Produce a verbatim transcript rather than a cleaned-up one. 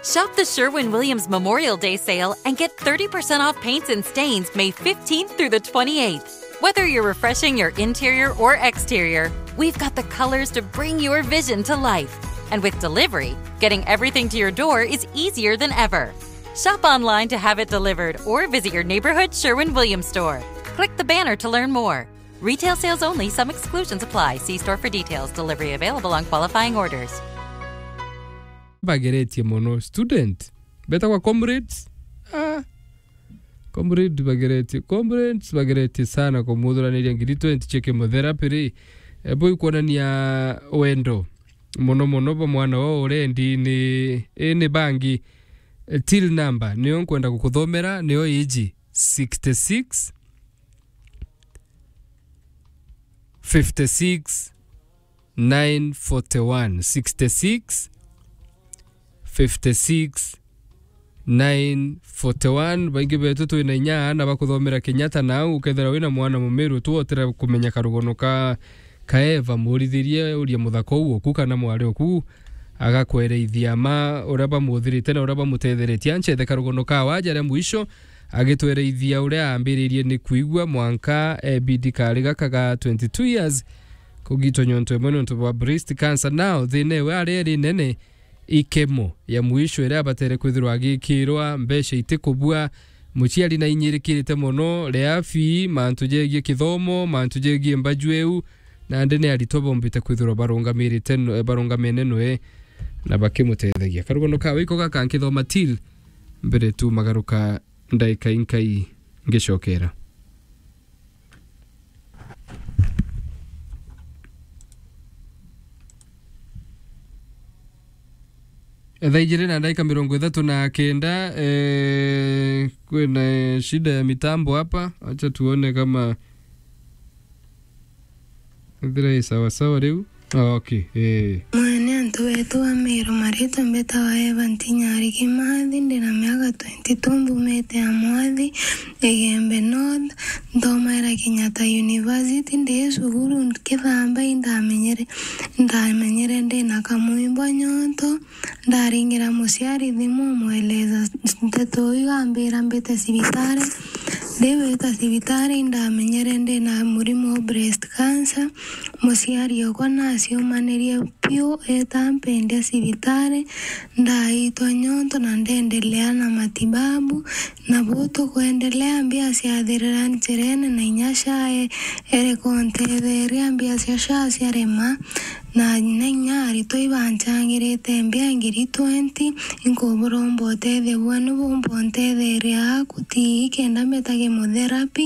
Shop the Sherwin Williams Memorial Day sale and get thirty percent off paints and stains May fifteenth through the twenty-eighth. Whether you're refreshing your interior or exterior, we've got the colors to bring your vision to life. And with delivery, getting everything to your door is easier than ever. Shop online to have it delivered or visit your neighborhood Sherwin Williams store. Click the banner to learn more. Retail sales only, some exclusions apply. See store for details. Delivery available on qualifying orders. Bageretie mono student betagwa comrades. Ah. Comrade bageretie, comrades bageretie sana kumuthuraniria ngiri twenty cia kimotherapy ri. Ebo ikwonania wendo mono mono bwa mwana wao urendi ni, ni bangi. Eh, till number niyo nkwenda gukuthomera, niyo iji sixty-six, fifty-six, nine forty-one, sixty-six, fifty-six, nine forty-one. Baingi betu twina inya aana bakuthomera Kenyatta, nau ukethira wina mwana mumiru tu otira kumenya karugono ka kaeva, murithirie urie muthaka uu oku kana mwari oku agakwereithia ma uria bamuthirite na uria bamutetheretie. Anchethe karugono ka waja ria mwisho agitwereithia uria aambiririe ni kwigua mwanka ebidi kari gaka ga twenty-two years kugitwa nyonto imwe nontu bwa breast cancer. Nao thina iwe ari eri nene, ikemo ya mwisho iria abatere kwithirwa agikirwa, mbeca itikubua, muciari nainyirikirite mono, ria fee, mantu jegie kithomo, mantu jegie mbaju iu, nandi ni aritwa bombite kwithirwa barungamirite no-, barungamene noe na bakimutethagia. Karugono kawe iko gaka nkithoma till mbere tu magaruka ndaika inkai ngicokera. Thaa ijiri na ndaika mirongo ithatu na kenda, eh, kwina shida ya mitambo hapa. Acha tuone kama ithira i sawa sawa riu. Ah, okay, eh. Mwene antu betu ba Meru, maritwa mbetawa Eva Ntinyari Kimathi, ndina miaka twenty-two, mbumite ya Mwathi, Igembe North, nthomaira Kenyatta University, ndi cukuru nkithamba, indamenyere, ndamenyere ndina kamwimbo nyonto, ndaringira muciari thimu, umweleza nteto iu, ambira mbite cibitari, ndiwita cibitari, indamenyere ndina murimo wa breast cancer, muciari okwa naciumanirie piu, eta mpendia cibitari, ndaitwa nyonto na ndendelea na matibabu, na bu tukwendelea, mbia ciathirira njirene, na inya SHA e-, ereka untetheria, mbia cia SHA ciarema, na, na inya aritwa ibancangirite mbia ngiri twenty, inkuburomba utethio bwenu bumba untetheria aku ti kenda mbeta chemotherapy,